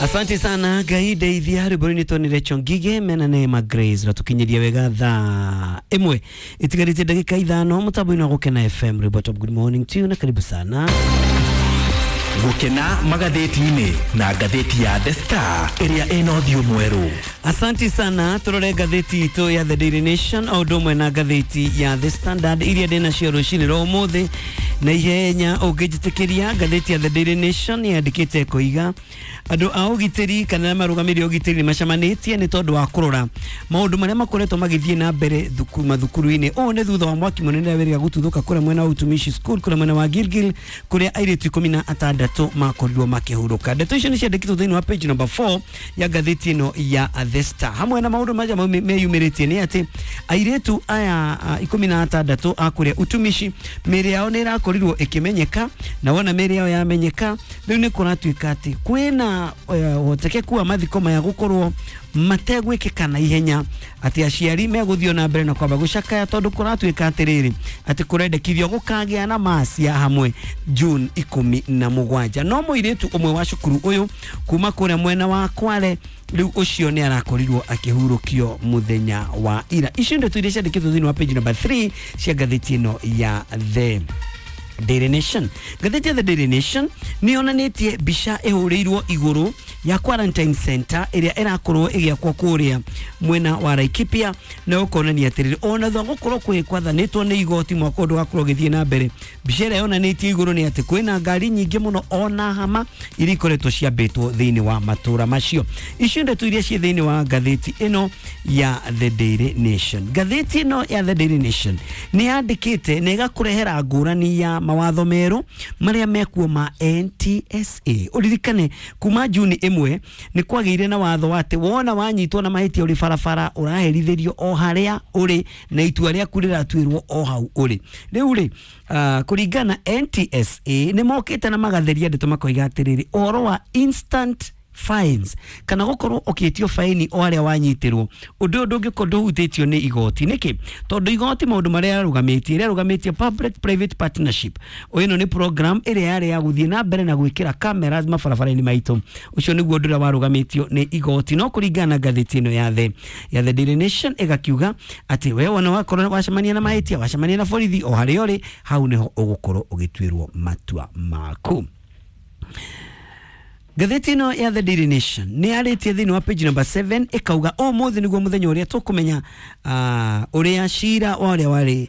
Asante sana Ngai ndeithia rwĩmbo rũinĩtwo nĩ Rachel Ngige mena Neema Grace ratukinyiria wega thaa ĩmwe itigarĩtie ndagĩka 5 mũtambo-inĩ wa Gũkena FM. Rwĩmbo top good morning to you na karibu sana. Gũkena magathĩti-inĩ na ngathĩti ya The Star ĩrĩa ĩna ũthiũ mwerũ. Asante sana. Turore ngathĩti itũ ya The Daily Nation o ũndũ ũmwe na ngathĩti ya The Standard iria ndĩ nacio rũcinĩ rwa ũmũthĩ na ihenya ũngĩnjĩtĩkĩria. Ngathĩti ya The Daily Nation yandĩkĩte koiga andũ a ũgitĩri kana marũgamĩrĩri a ũgitĩri nĩ macemanĩtie nĩ tondũ wa kũrora maũndũ marĩa makoretwo magĩthiĩ na mbere mathukuru-inĩ. Ũũ nĩ thutha wa mwaki mũnene wĩrĩga gũtuthũka kũrĩa mwena wa Utumishi School kũrĩa mwena wa Gilgil kũrĩa airĩtu 16 makorirwo makĩhurũka. Ndeto icio nĩ ciandĩkĩtwo thĩinĩ wa page number 4 ya ngathĩti ĩno ya The Star. Hamwe na maũndũ marĩa meyumĩrĩtie nĩ atĩ airĩtu aya 16 a kũrĩa Utumishi mĩĩrĩ yao nĩ ĩrakorirwo ĩkĩmenyeka, na wona mĩĩrĩ yao yamenyeka rĩu nĩ kũratuĩka atĩ kwĩna ũhotekeku wa mathiko maya gũkorwo mategwĩkĩka na ihenya, atĩ aciari megũthiĩ na mbere na kwamba gũcakaya tondũ kũratuĩka atĩrĩrĩ atĩ kũrendekithio gũkagĩa na macia hamwe June 17. No mũirĩtu ũmwe wa cukuru ũyũ kuma kũrĩa mwena wa Kwale rĩu ũcio nĩ arakorirwo akĩhurũkio mũthenya wa ira. Icio ndeto iria ciandĩkĩtwo thĩinĩ wa page number 3 cia ngathĩti ĩno ya The Daily Nation. Ngathĩti ya The Daily Nation nĩ yonanĩtie mbica ĩhũrĩirwo igũrũ ya quarantine center ĩrĩa ĩrakorwo ĩgĩakwo kũrĩa mwena wa Laikipia, na ũkonania atĩrĩrĩ ona thutha gũkorwo kwĩ kwathanĩtwo nĩ igoti mwaka ũyũ ndũgakorwo ũgĩthiĩ na mbere. Mbica ĩrĩa yonanĩtie igũrũ nĩ atĩ kwĩna ngari nyingĩ mũno ona hama iria ikoretwo ciambĩtwo thĩinĩ wa matũra macio. Icio ndeto iria ciĩ thĩinĩ wa ngathĩti ĩno ya The Daily Nation. Ngathĩti ĩno ya The Daily Nation nĩ yandĩkĩte na ĩgakũrehera ngũrani ya mawatho merũ marĩa mekuo ma NTSA. Ũririkane kuma Juni 1 nĩ kwagĩire na watho wa atĩ wona wanyitwo na mahĩtia ũrĩ barabara ũraherithĩrio o harĩa ũrĩ na itua rĩaku rĩratuĩrwo o hau ũrĩ. Rĩu rĩ kũringana NTSA nĩ mokĩte na magatheria ndeto makoiga atĩrĩrĩ ũhoro wa instant fines kana gũkorwo ũkĩtio faini o harĩa wanyitĩrwo ũndũ ũyũ ndũngĩkorwo ndũhutĩtio nĩ igoti. Nĩkĩ? Tondũ igoti maũndũ marĩa yarũgamĩtie ĩrarũgamĩtie public private partnership. Ĩno nĩ program ĩrĩa yarĩ ya gũthiĩ na mbere na gwĩkĩra cameras mabarabara-inĩ maitũ. Ũcio nĩguo ũndũ ũrĩa warũgamĩtio nĩ igoti. No kũringana na ngathĩti ĩno ya The Daily Nation ĩgakiuga atĩ we wona wakorwo wacemania na mahĩtia wacemania na borithi o harĩa ũrĩ hau nĩho ũgũkorwo ũgĩtuĩrwo matua maku. Ngathĩti ĩno ya The Daily Nation nĩ yarĩtie thĩinĩ wa page number 7 ĩkauga ũmũthĩ nĩguo mũthenya ũrĩa tũkũmenya ũrĩa cira wa ũrĩa warĩ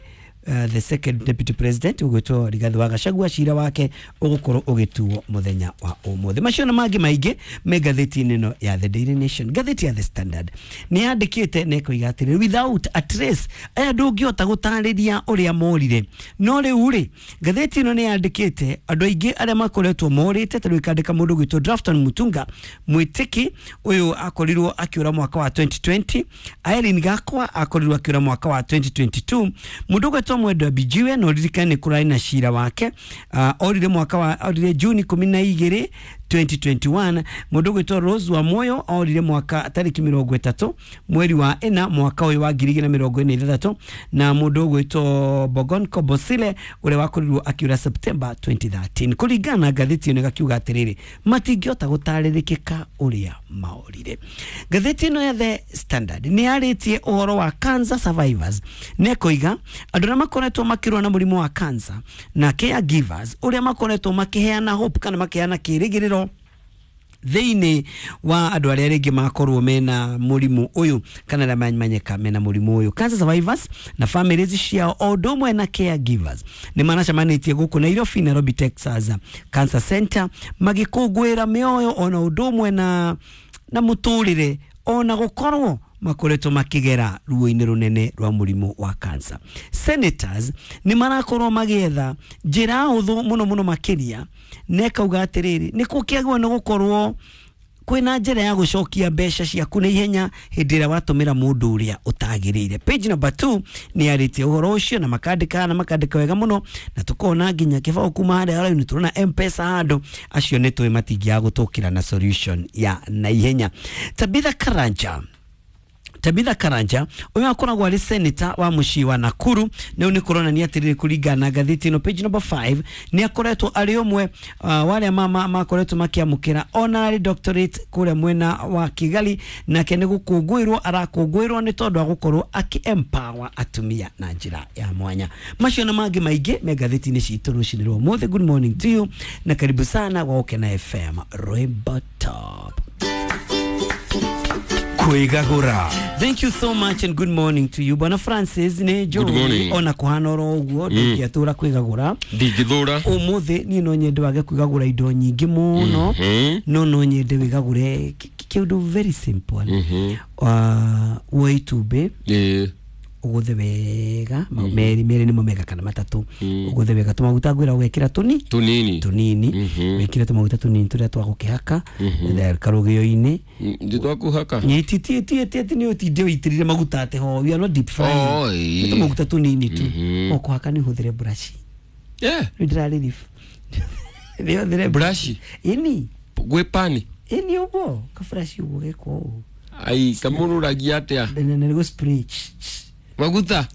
the second deputy president ũgwĩtwo Rigathi wa Gachagua cira wake ũgũkorwo ũgĩtuo mũthenya wa ũmũthĩ. Macio na mangĩ maingĩ me ngathĩti-inĩ ĩno ya The Daily Nation. Ngathĩti ya The Standard nĩ yandĩkĩte na ĩkoiga atĩrĩrĩ without a trace aya ndũngĩhota gũtarĩria ũrĩa morire. No rĩu rĩ ngathĩti ĩno nĩ yandĩkĩte andũ aingĩ arĩa makoretwo morĩte, ta rĩu ĩkandĩka mũndũ ũgwĩtwo Drafton Mutunga Mwĩtĩki ũyũ akorirwo akĩũra mwaka wa 2020, Irene Gakwa akorirwo akĩũra mwaka wa 2022, mũndũ ũgwĩtwo Mwendwa Bijiwe no ririkane nĩ kũrarĩ na cira wake orire mwaka wa orire Juni 12 2021, mũndũ ũgwĩtwo Rose wa Moyo orire mwaka tarĩki 30 mweri wa 4 mwaka ũyũ wa 2026, na mũndũ ũgwĩtwo Bogon Kobosile ũrĩa wakorirwo akĩũra September 2013. Kũringana na ngathĩti ĩno ĩgakiuga atĩrĩrĩ matingĩhota gũtarĩrĩkĩka ũrĩa maorire. Ngathĩti ĩno ya The Standard nĩ yarĩtie ũhoro wa cancer survivors na ĩkoiga andũ arĩa makoretwo makĩrũa na mũrimũ wa cancer na caregivers ũrĩa makoretwo makĩheana hope kana makĩheana kĩrĩgĩrĩro thĩinĩ wa andũ arĩa rĩngĩ makorwo mena mũrimũ ũyũ kana arĩa mamenyeka mena mũrimũ ũyũ. Cancer survivors na families ciao o ũndũ ũmwe na caregivers nĩ maracemanĩtie gũkũ Nairobi, Nairobi Texas Cancer Center magĩkũngũĩra mĩoyo ona ũndũ ũmwe na mũtũrĩre ona gũkorwo makoretwo makĩgera ruo-inĩ rũnene rwa mũrimũ wa cancer. Senators nĩ marakorwo magĩetha njĩra hũthũ mũno mũno makĩria na ĩkauga atĩrĩrĩ nĩ gũkĩagĩrĩirwo nĩ gũkorwo kwĩna njĩra ya gũcokia mbeca ciaku na ihenya hĩndĩ ĩrĩa watũmĩra mũndũ ũrĩa ũtagĩrĩire. Page number 2 nĩ yarĩtie ũhoro ũcio na makandĩka wega mũno na tũkona nginya kĩbaũ kuma harĩa raini tũrona M-Pesa handũ acio nĩ tũĩ matingĩaga gũtũkĩra na solution ya na ihenya. Tabitha Tabitha Karanja ũyũ akoragwo arĩ senator wa mũciĩ wa Nakuru. Nĩu nĩ kũronania atĩrĩrĩ, kũringana na ngathĩti ĩno page number 5, nĩ akoretwo arĩ ũmwe wa arĩa makoretwo makĩamũkĩra honorary doctorate kũrĩa mwena wa Kigali, nake nĩ gũkũngũĩrwo arakũngũĩrwo nĩ tondũ wa gũkorwo akĩ empower atumia na njĩra ya mwanya. Macio na mangĩ maingĩ me ngathĩti-inĩ citũ rũcinĩ rwa ũmũthĩ. Good morning to you na karibu sana gwa Gũkena FM Rwimbo Top. Kwĩgagũra. Thank you so much and good morning to you. Bwana Francis nĩ Good morning. njũĩ ona kũhana oro ũguo ndũngĩatũra kwĩgagũra. Ndingĩthũra. Ũmũthĩ niĩ no nyende wage kwĩgagũra indo nyingĩ mũno, no nyende wĩgagũre kĩũndũ very simple. Woe itumbĩ, ũgũthe wega merĩ merĩ nĩmo mega kana matatũ, ũgũthe wega tũmaguta ngwĩra ũgekĩra tũni Tunini. Tũnini. Wĩkĩre tũmaguta tũnini tũrĩa twa gũkĩhaka karũgĩo-inĩ. Nditwakuhaka. Ti nĩ ũtinde ũitĩrĩre maguta atĩ ho, we are not deep frying. Oh, Nĩ ĩĩ. tũmaguta tũnini tu o kũhaka. Nĩ ũhũthĩre brush. Rĩu ndĩrarĩ nĩ ũhũthĩre Brush? Ĩni. Gwĩ pani. Ĩni, ũguo kaburaci ũguo gekwo ũũ. Ai, kamũrũragia atĩa? Na nĩguo spray. Maguta.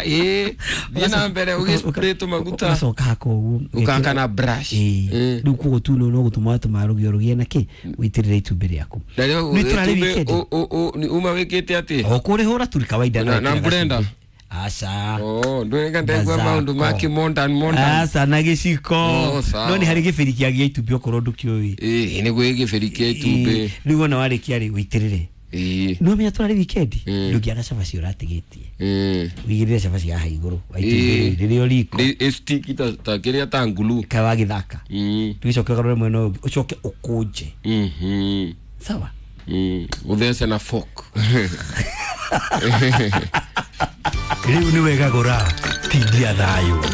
Ĩ thiĩ na mbere ũgĩspray tũmaguta. Ũgacoka haka ũguo. Ũkahaka na brush. Ĩĩ. Rĩu koguo tu no gũtũma watũma rũgĩo rũgĩe na kĩ ũitĩrĩre itumbĩ rĩaku. Na rĩu Nĩ tũrarĩ itumbĩ weekend. Uma wĩkĩte atĩ? O kũrĩhũra tu kawaida. Na wekĩra blender? gacumbĩ. Aca. Oh, ndũreka ndaigua Mazako. maũndũ ma kĩmondan mondan. Aca, na gĩciko. Oh, sawa. No nĩ harĩ gĩbĩri kĩa gĩa itumbĩ okorwo ndũkĩũĩ. Ĩĩ, nĩ gwĩ gĩbĩri kĩa itumbĩ. Rĩu wona warĩkia rĩ, ũitĩrĩre. No menya tũrarĩ weekend, ndũngĩaga cabaci ũratigĩtie. Wĩigĩrĩre cabaci haha igũrũ wa itumbĩ rĩu rĩrĩ o riko. Nĩ ĩstiki ta kĩrĩa ta ngulu. Kaĩ wagĩthaka. Rĩu ũcoke ũgarũre mwena ũyũ ũngĩ, ũcoke ũkũnje. Sawa. Ũthece na fork. Rĩu nĩ wegagũra tindia thayũ.